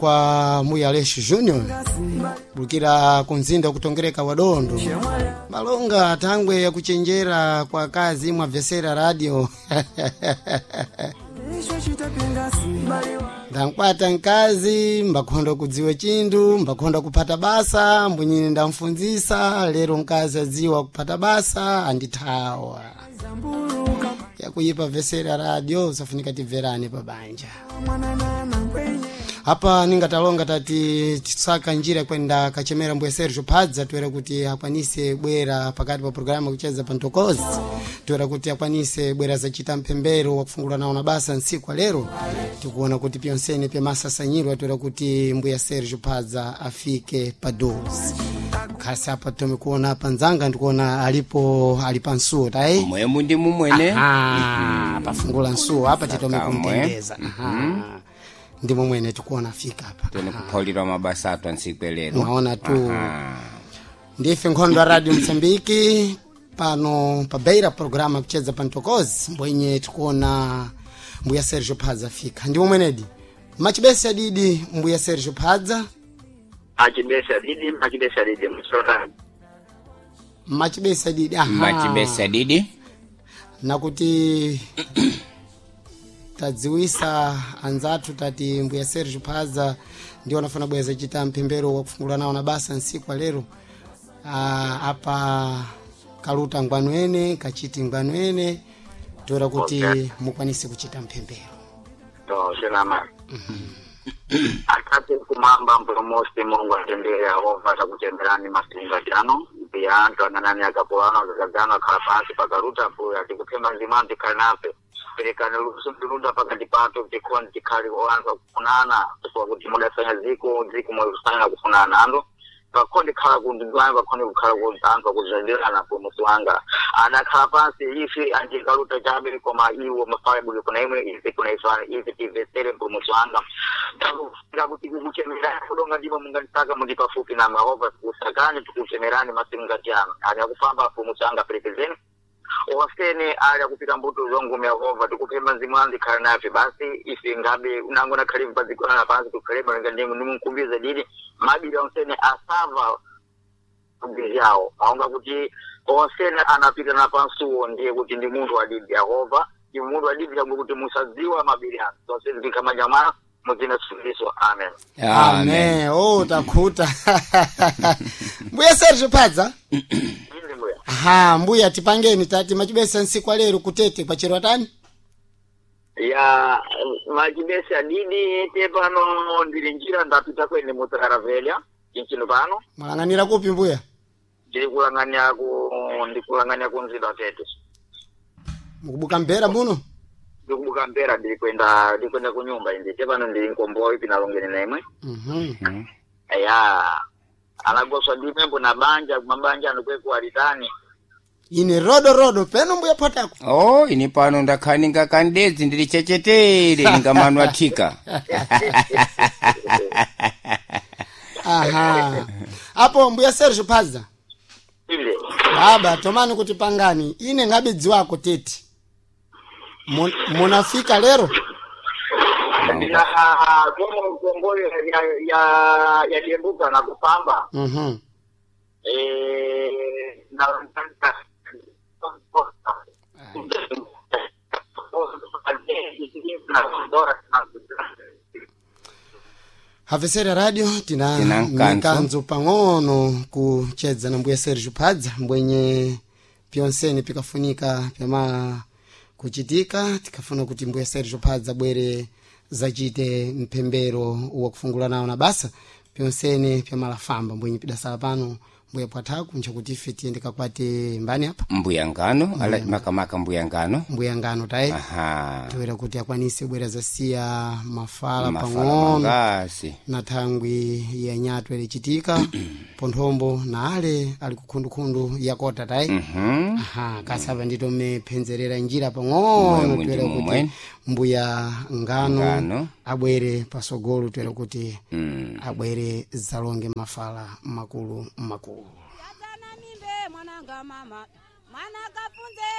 Kwa Muya Alex Junior bulukira kumzinda kutongereka wadondo malonga thangwe yakuchenjera kwa kazi mwabvesera radio. Ndankwata nkazi mbakhonda kudziwa chinthu, mbakhonda kuphata basa, mbunyini ndamfunzisa lero nkazi adziwa kuphata basa andithawa. Yakuyipa vesera radio, safunika tibverane pabanja. Apa ningatalonga tati tisaka njira kwenda kachemera mbuya Sergio Padza, toera kuti akwanise bwera pakati pa programu kucheza pantokozi, toera kuti akwanise bwera zachita mphembero wakufungula nawo na basa nsiku lero. Tikuona kuti pyonsene pyamasasanyirwa toera kuti mbuya Sergio Padza afike pa 12 khasi. Apa tome kuona panzanga ndikuona alipo ali pansuwo tayi. Mwemu ndi mumwene. Aha, pafungula nsuwo apa titome Sakamwe. kumtendeza. Aha, ndimo mwene tikuona afika apa. Tene kuphaulirwa mabasa athu antsiku lero. Mwaona tu. Aha. Ndife nkhondo ya Radio Msambiki pano pa Beira, programa kucheza pantokozi mbwenye tikuona mbuya Sergio Padza afika. Ndimo mwenedi machibesi adidi mbuya Sergio Padza. Achibesa didi, machibesa didi msota. Machibesi adidi, aha. Machibesa didi. Nakuti tadziwisa anzathu tati mbuya Sergio Padza ndio anafuna bweza chita mphembero wakufungula nawo na basa nsiku lero. Apa kaluta ngwanwene kachiti ngwanwene toera kuti Okay. mukwanise kuchita mphembero. To selama. Atate kumamba mpulumusi Mulungu atendere Yehova atakutemberani masinga jano mbiya anthu ananani akapulano akakagano akhala pansi pakaluta mbuya tikuphemba nzimanu tikhale nafe, perekani luso ndilunda pakati pathu tikhoni tikhale anthu akufunana chifukwa kuti mudasanya dziko dziko mwakusanya kufunana anthu pakhoni khala kundidwani pakhoni kukhala ku anthu akuzandirana. Mpulumusi wanga adakhala pansi ife andikaluta chabe koma iwo mafale buli kuna imwe ife kuna ifane ife tivesere. Mpulumusi wanga takufika kuti kukuchemerani kudonga ndimo munganisaka mundi pafupi na Yehova kusakani tikuchemerani masimu ano ali akufamba. Mpulumusi wanga perekezeni wasene ali akupita mbuto zongume. Yehova tikupemba mzimu wangu ikhale nafe basi ife ngabe unango nakhale padzikona pansi tukhaleba nga ndimo ndimunkumbiza didi mabiri onsene asava yawo aonga kuti onsene anapita na pansuwo ndiye kuti ndi munthu wadidi. Yehova ndi munthu wadidi yamwe kuti musadziwa mabiri anu zonse zikhamanja mwana muzina Yesu, amen. Amen. Oh, takhuta mbuya Sergio Padza. Inde mbuya. Aha, mbuya tipangeni tati machibesa nsiku lero kutete kwachero atani. Ya machibesa didi te pano ndili njira ndapita kwene mutaravelya chinchino pano. Mwalang'anira kupi mbuya? Ndiri kulang'ania ku ndikulang'ania ku mzinda tete. Mukubuka mbera muno? Ndikubuka mpera ndiri kwenda ku nyumba indi te pano ndili nkombowa ipi nalongene na imwe. Ya anagoswa ndimembo na banja mabanja andikweku alitani. Ine rodo rodo peno mbuya potako. Oh, ini pano ndakhaninga kandedzi ndili chechetere ninga athika. Aha, apo mbuya Sergio Padza. Inde. Baba tomani kuti pangani ine ngabidzi wako tete. Munafika lero? Ndina komo komboyo ya yadembuka na kupamba. Eh, na Havesera radio tina Tina nkanzo. mikanzo pang'ono kuchedza na mbuya Sergio Padza mbwenye pyonsene pikafunika pyama kuchitika tikafuna kuti mbuya Sergio Padza bwere zachite mphembero wakufungula nawo na basa pyonsene pyamalafamba mbwenye pidasala pano mbuya pwathaku nchakuti ife tiyende kakwate mbani apa. Mbuya ngano ala makamaka mbuya ngano. Mbuya ngano tayi. Aha. Toera kuti akwanise bwera zasiya mafala mafala pang'ono mangasi na thangwi ya nyatwe ilichitika ponthombo na ale ali kukhundukhundu yakota tayi. Aha, kasava ndito mmephenzerera njira pang'ono. Mwemwe toera ndimo kuti mwene. mbuya ngano, Ngano. Abwere pasogolo toera kuti abwere zalonge mafala makulu makulu. Yatana mimbe mwananga mama mwana kafunze.